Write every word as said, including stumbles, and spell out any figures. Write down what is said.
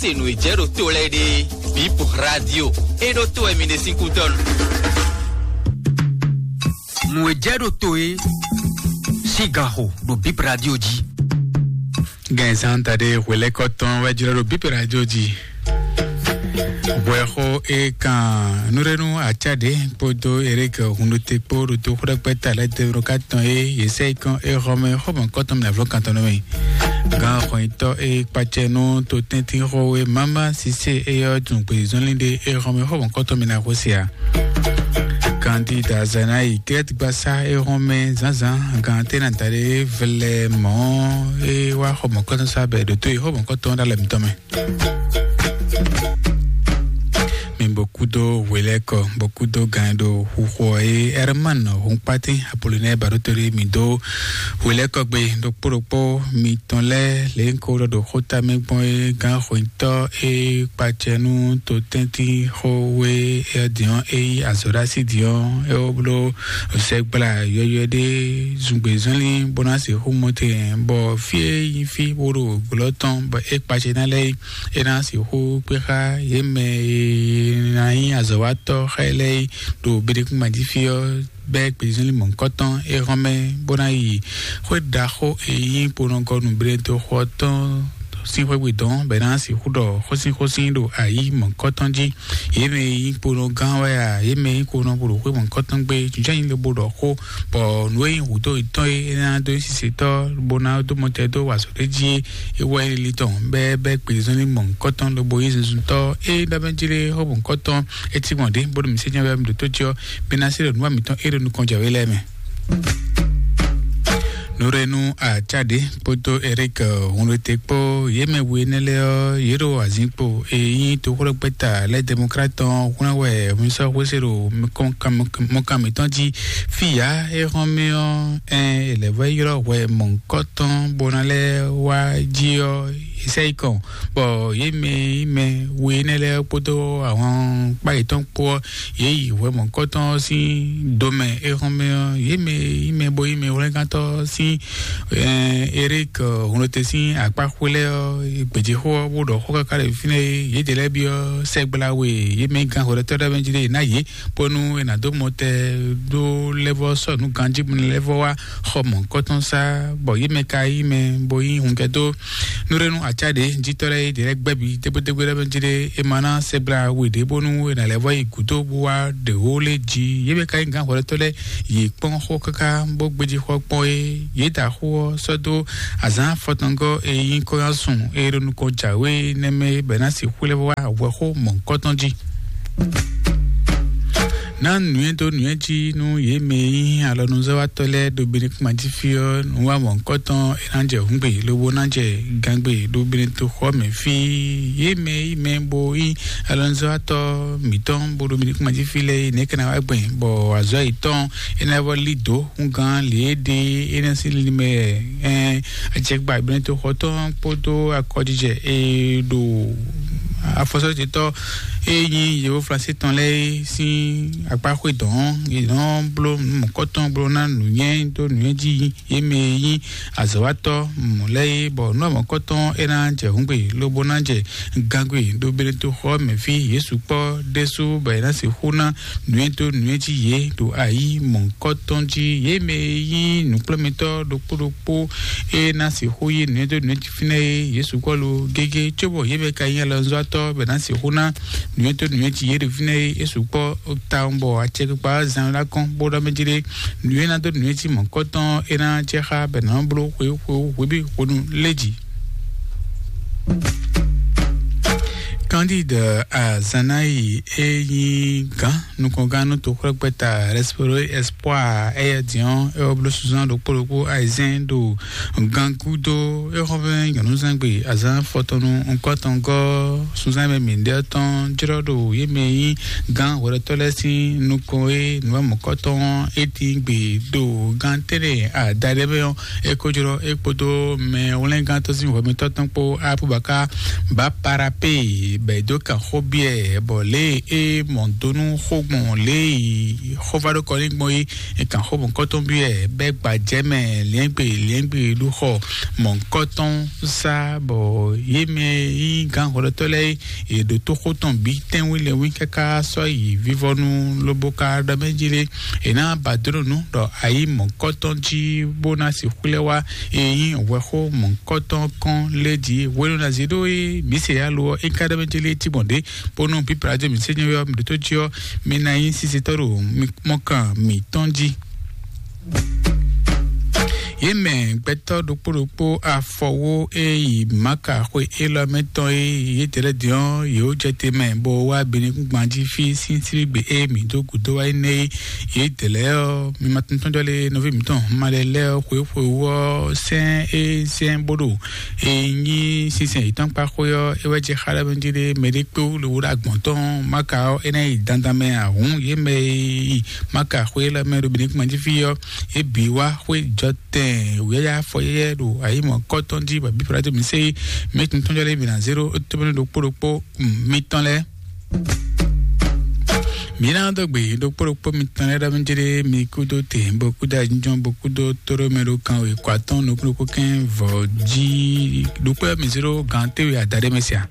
Se nǔ e jɛ ɖo to lɛ́ɛ ɖe, Bip Radio, e ɖo to wɛ mi ɖe sín kútɔ́ nu. Nǔ e jɛ ɖo to é sín ganxo ɖo Bip Radio jí. Gɛnzan taɖe hwelɛ́kɔ tɔn wɛ jlɔ́ ɖo Bip Radio jí. Hwɛxó e kan nǔɖénú Acáde kpódó Eric Hunɖote kpó ɖo toxó ɖɛkpɛ ta lɛ́ɛ tɛnmɛ ɖo ká tɔn é yě sɛ yi kɔn é xɔ mɛ xɔmɔ kɔtɔn mɛ avlɔ kan tɔn nɔ mɛ. Gán xɔnyitɔ́ e kpacɛ nú totɛ́ntin xɔwe Mama Sise e yɔ tun gbezɔnlin ɖe e xɔmɛ xɔmɔ kɔtɔn mɛ na xó se a. Kandida Zanayi Kɛtgbasa e xɔmɛ zǎnzǎn gán tɛ́ na da ɖe vlɛ mɔ̌ e wá xɔmɔ kɔtɔn sa bɛ ɖo tó yi xɔmɔ kɔtɔn ɖo alɛ mitɔn mɛ. Mi bɔ kúdó hwelɛ́kɔ, bɔ kúdó gan ɖo xuxɔ e Herman Hunkpatin Apollinaire Baɖótolí mi dó hwelɛ́kɔ gbe ɖokpó ɖokpó mitɔn lɛ́ɛ lě ko ɖɔ ɖo xóta mɛ gbɔn é gán xweyítɔ́ e kpacɛ nú totɛ́ntin xó we é diɔn é yí azɔ̌ ɖo así diɔn é wó bló sɛgbla yɔywɛ ɖé zungbe zɔnlin bó ná sixú mɔ te bɔ fí e nyí fí bó ɖo glɔ́ tɔn bɔ é kpacɛ ná lɛ́ɛ é ná sixú kpé xá yě mɛ e ná nyí azɔ̌watɔ́ xá ɛ lɛ́ɛ é ɖo Benekúnmají fí ɔ́ bɛ́ gbezínlí mɔ̌hunkɔtɔn é hɔn mɛ bó ná yi xwé ɖaxó e nyí kponɔgɔnu Benetoxo ɔ́ tɔn sín xwé gbe dɔn bɔ é ná sixú ɖɔ xósínxósín ɖo ayǐ mɔ̌hunkɔtɔn jí. Yě mɛ e nyí kponɔgán wɛ a, yě mɛ e nyí kponɔ bó ɖo xwé mɔ̌hunkɔtɔn gbe jínjɔ́n nyi lobo ɖɔ xó bɔ nǔ e nyí hǔdó yětɔn e é ná dó nyí sisetɔ́ bó ná dó mɔtɛ dó wa azɔ̌ ɖé jí é wɛ nyí lili tɔn bɛ́ bɛ́ gbezɔ́nlin mɔ̌hunkɔtɔn lobo nyí zunzuntɔ́ e ɖɔ mɛ jí lé xó mɔ̌hunkɔtɔn é cí gbɔn ɖě bó ɖo mǐ se nyɛ wɛ mi ɖo tó jí ɔ́, mi ná se ɖo nǔ wa mǐtɔn é ɖo nukɔn jɛ wé lɛ́ɛ mɛ. Nurenu Acade kpódó Eric Hunlete kpó yě mɛ we énɛ́ lɛ́ɛ ɔ́, yě ɖo azǐnkpo e nyí toxóɖɔgbɛ́ta lɛ́ɛ Democrate tɔn hwlɛ́n wɛ mi sɔ́ xwésé ɖo mɔkan mɔkan mǐtɔn jí. Fí yǎ é hɔn mì ɔ́, ɛn è lɛ̌ vɔ ylɔ́ hwɛ mɔ̌hunkɔtɔn bó ná lɛ́ wá jí ɔ́, è sɛ yi kɔn, bɔ yě mɛ e nyí mɛ we énɛ́ lɛ́ɛ kpódó ahwankpá yětɔn kpó ɔ́, yě yi hwɛ mɔ̌hunkɔtɔn ɔ́ sín do mɛ. É hɔn mɛ ɔ́, yě mɛ e nyí mɛ bo nyí mɛhwlɛ́ngántɔ́ sín Eric Hunlete sín akpá xwé lɛ́ɛ ɔ́, gbějéxó ɔ́, bó ɖɔ xó káká ɖe fínɛ́ é, yědɛɛ lɛ́ɛ byɔ́ sɛgbla we, yě mɛ gán hwɛɖɔtɔ́ ɖé mɛ jí ɖé ná yě, bónú è nǎ dó mɔtɛ ɖó lɛ́vɔ́ sɔ́ nǔ ganjí bó ná lɛ́vɔ́ wá xɔ mɔ̌hunkɔtɔn sá, bɔ yě mɛ ka nyí mɛ bo nyí hungɛdó nú ɖé nú acá ɖě jítɔ́ lɛ́ɛ é ɖě lɛ́ɛ gbɛ́ bǐ dégbédégbé lɛ́ɛ mɛ jí ɖé é ma ná sɛgbla we ɖě bónú è nǎ lɛ́ vɔ yi gǔdo bó wá ɖě wó lé jí. Yě mɛ ka nyí gǎn hwɛɖɔtɔ́ lɛ́ɛ yě kpɔ́n xó káká bó gbéjí xó ɔ́ kpɔ́n é. Yě da xó ɔ́ sɔ́ dó azǎn afɔtɔngɔ́ e nyí kɔ́yánsun e ɖo nukɔn jǎwe nɛ́ mɛ bɔ è nǎ sixú lɛ́ vɔ wá hwɛxó mɔ̌hunkɔtɔn jí. Ná nǔnywɛ́ dó nǔnywɛ́ jí nú yě mɛ e nyí alɔnuzɔ́watɔ́ lɛ́ɛ ɖo Benekúnmají fí ɔ́, nǔwanmɔ̌hunkɔtɔn e ná jɛ hǔngbe lobo ná jɛ gangbe ɖo Benetoxɔ mɛ fí. Yě mɛ e nyí mɛ bo nyí alɔnuzɔ́watɔ́ mǐtɔn bó ɖo Benekúnmají fí lɛ́ɛ é, nɛ̌ ka ná wá gbɛn bɔ azɔ̌ yětɔn é ná vɔ lí dǒ húngán lě e ɖe é ná sín linlin mɛ ɛn ajɛgbá Benetoxɔ tɔn kpódó akɔjijɛ e ɖo afɔsɔ́jɛtɔ́ e nyí yevo Flansé tɔn lɛ́ɛ sín akpá xwé dɔn ɔ́, yě nɔ bló nǔ mɔ̌kɔtɔn bló ná nǔnywɛ́ dó nǔnywɛ́ jí yě mɛ e nyí azɔ̌watɔ́ mɔ̌ lɛ́ɛ é, bɔ nǔ mɔ̌kɔtɔn é ná jɛ hǔngbe lobo ná jɛ gangbe ɖo Benetoxɔ mɛ fí. Yě sukpɔ́ ɖésú bɔ è nǎ sixú ná nǔnywɛ́ dó nǔnywɛ́ jí yě ɖo ayǐ mɔ̌kɔtɔn jí. Yě mɛ e nyí nǔkplɔ́nmɛtɔ́ ɖokpó ɖokpó é ná sixú yí nǔnywɛ́ dó nǔnywɛ́ jí fínɛ́ é, yě sukpɔ́ lo gégé, cóbɔ yě mɛ ka nyí alɔnzɔ́watɔ́ bɔ è nǎ sixú ná nǔnywɛ́ dó nǔnywɛ́ jí yě ɖo fínɛ́ é. É sukpɔ́ tawun bɔ acɛkpikpa ɔ́ zan ná kɔn bó ɖɔ mɛ jí ɖé nǔnywɛ́ ná dó nǔnywɛ́ jí mɔ̌kɔtɔn é ná jɛ xá bɔ è nǎ bló xweyíxweyí hwebí hwenu lé jí. Candide Azanayi e nyí gǎn nukɔngán nú toxwlɛ́gbɛ́ta Respero Espoir, éyɛ́ diɔ́n é wɔ bló sunzán ɖokpó ɖokpó ayizɛ́n ɖo gangúdo é xɔ́mɛ nyɔ̌nuzangbe azǎn fɔtɔnnu nukɔntɔngɔ́ sunzán mɛ mǐɖɛ́ tɔn jlɔ́ ɖo yě mɛ e nyí gǎn hwɛɖɔtɔ́ lɛ́ɛ sín nukɔn e nǔwamɔ̌kɔtɔn ɔ́ é tín gbe ɖo gán tɛ́nɛ adaɖé mɛ ɔ́, é ko jlɔ́ é kpódó mɛ hwlɛ́ngántɔ́ sín hwɛmɛtɔ́ tɔn kpó Abubakar Baparape bɔ è dó kan xó byɔ́ ɛ, bɔ lě e é mɔ do nú xó kpɔn lě yi xóvá ɖó kɔ ní gbɔn yi kan xó mɔ̌kɔtɔn bí wɛ bɛ́ gbajɛ mɛ liɛ́ngbe liɛ́ngbe ɖó xɔ mɔ̌kɔtɔn sá bɔ yé mɛ yí gán hɔlɔtɔ lɛ́ɛ yě ɖo tóxó tɔn bí tɛ́nwí lɛ́nwí káká sɔ́ yi vívɔnu lobo ka ɖɔ mɛ jí lé. È nǎ ba dó nǔ ɖɔ ayǐ mɔ̌kɔtɔn jí bó ná sixú lɛ́ wá. È nyí hwɛxó mɔ̌kɔtɔn kɔn lé jí hwenu ná zí ɖó é mǐ se alo ɔ́ é ká ɖɔ mɛ jí lé tí gbɔn ɖě bónú pípla jɔ mǐ sɛ́ nyɔ́yɔ́ mǐ ɖótó jí ɔ́, mi ná nyí sisitɔ́ ɖo mɔkan mǐtɔn jí. Yě mɛ gbɛtɔ́ ɖokpó ɖokpó afɔwó e yi Maka xwe élɔ́ mɛ tɔn e yě dɛlɛ din ɔ́, yě wó jɛ te mɛ bó wá Benekúngban jí fí sín síbígbe e mǐ dó gǔdo wá énɛ́ é. Yě dɛlɛ ɔ́, mi ma tuntun jɔ lé nɔví mǐtɔn ma lɛ lɛ ɔ́ xwé xwe wú ɔ́ sɛn é sɛn bó ɖo e nyí sinsɛn yětɔn kpa xwé ɔ́, é wɛ jɛ xá ɖɔ mɛ jí ɖé mɛ ɖé kpé wú le wú ɖo agbɔ̌n tɔn Maka ɔ́, é ná yi dandan mɛ ahǔn yě mɛ e yi Maka xwé lɛ́ɛ mɛ ɖo Benekúngban jí fí ɔ́, é bǐ wá xwé jɔ tɛn wǔyáyá afɔ yɛ́yɛ́ ɖo ayǐ mɔ̌kɔtɔn jí bɔ bíblá dó mǐ sé mɛ tuntun jɔ lɛ́ɛ bǐ ná zéro tóbɛ́nú ɖokpó ɖokpó mitɔn lɛ́ɛ. Mǐ ná dó gbe ɖokpó ɖokpó mitɔn lɛ́ɛ ɖɔ mí jlé mi kúdó te bó kúdó ajínjɔ́n bó kúdó tóɖó mɛ ɖó kan wěkɔ atɔ́ɔ́n nukúnnukún kɛ́n vɔ̌ jí ɖokpó mi zéro gan téwe adaɖé mɛ sia.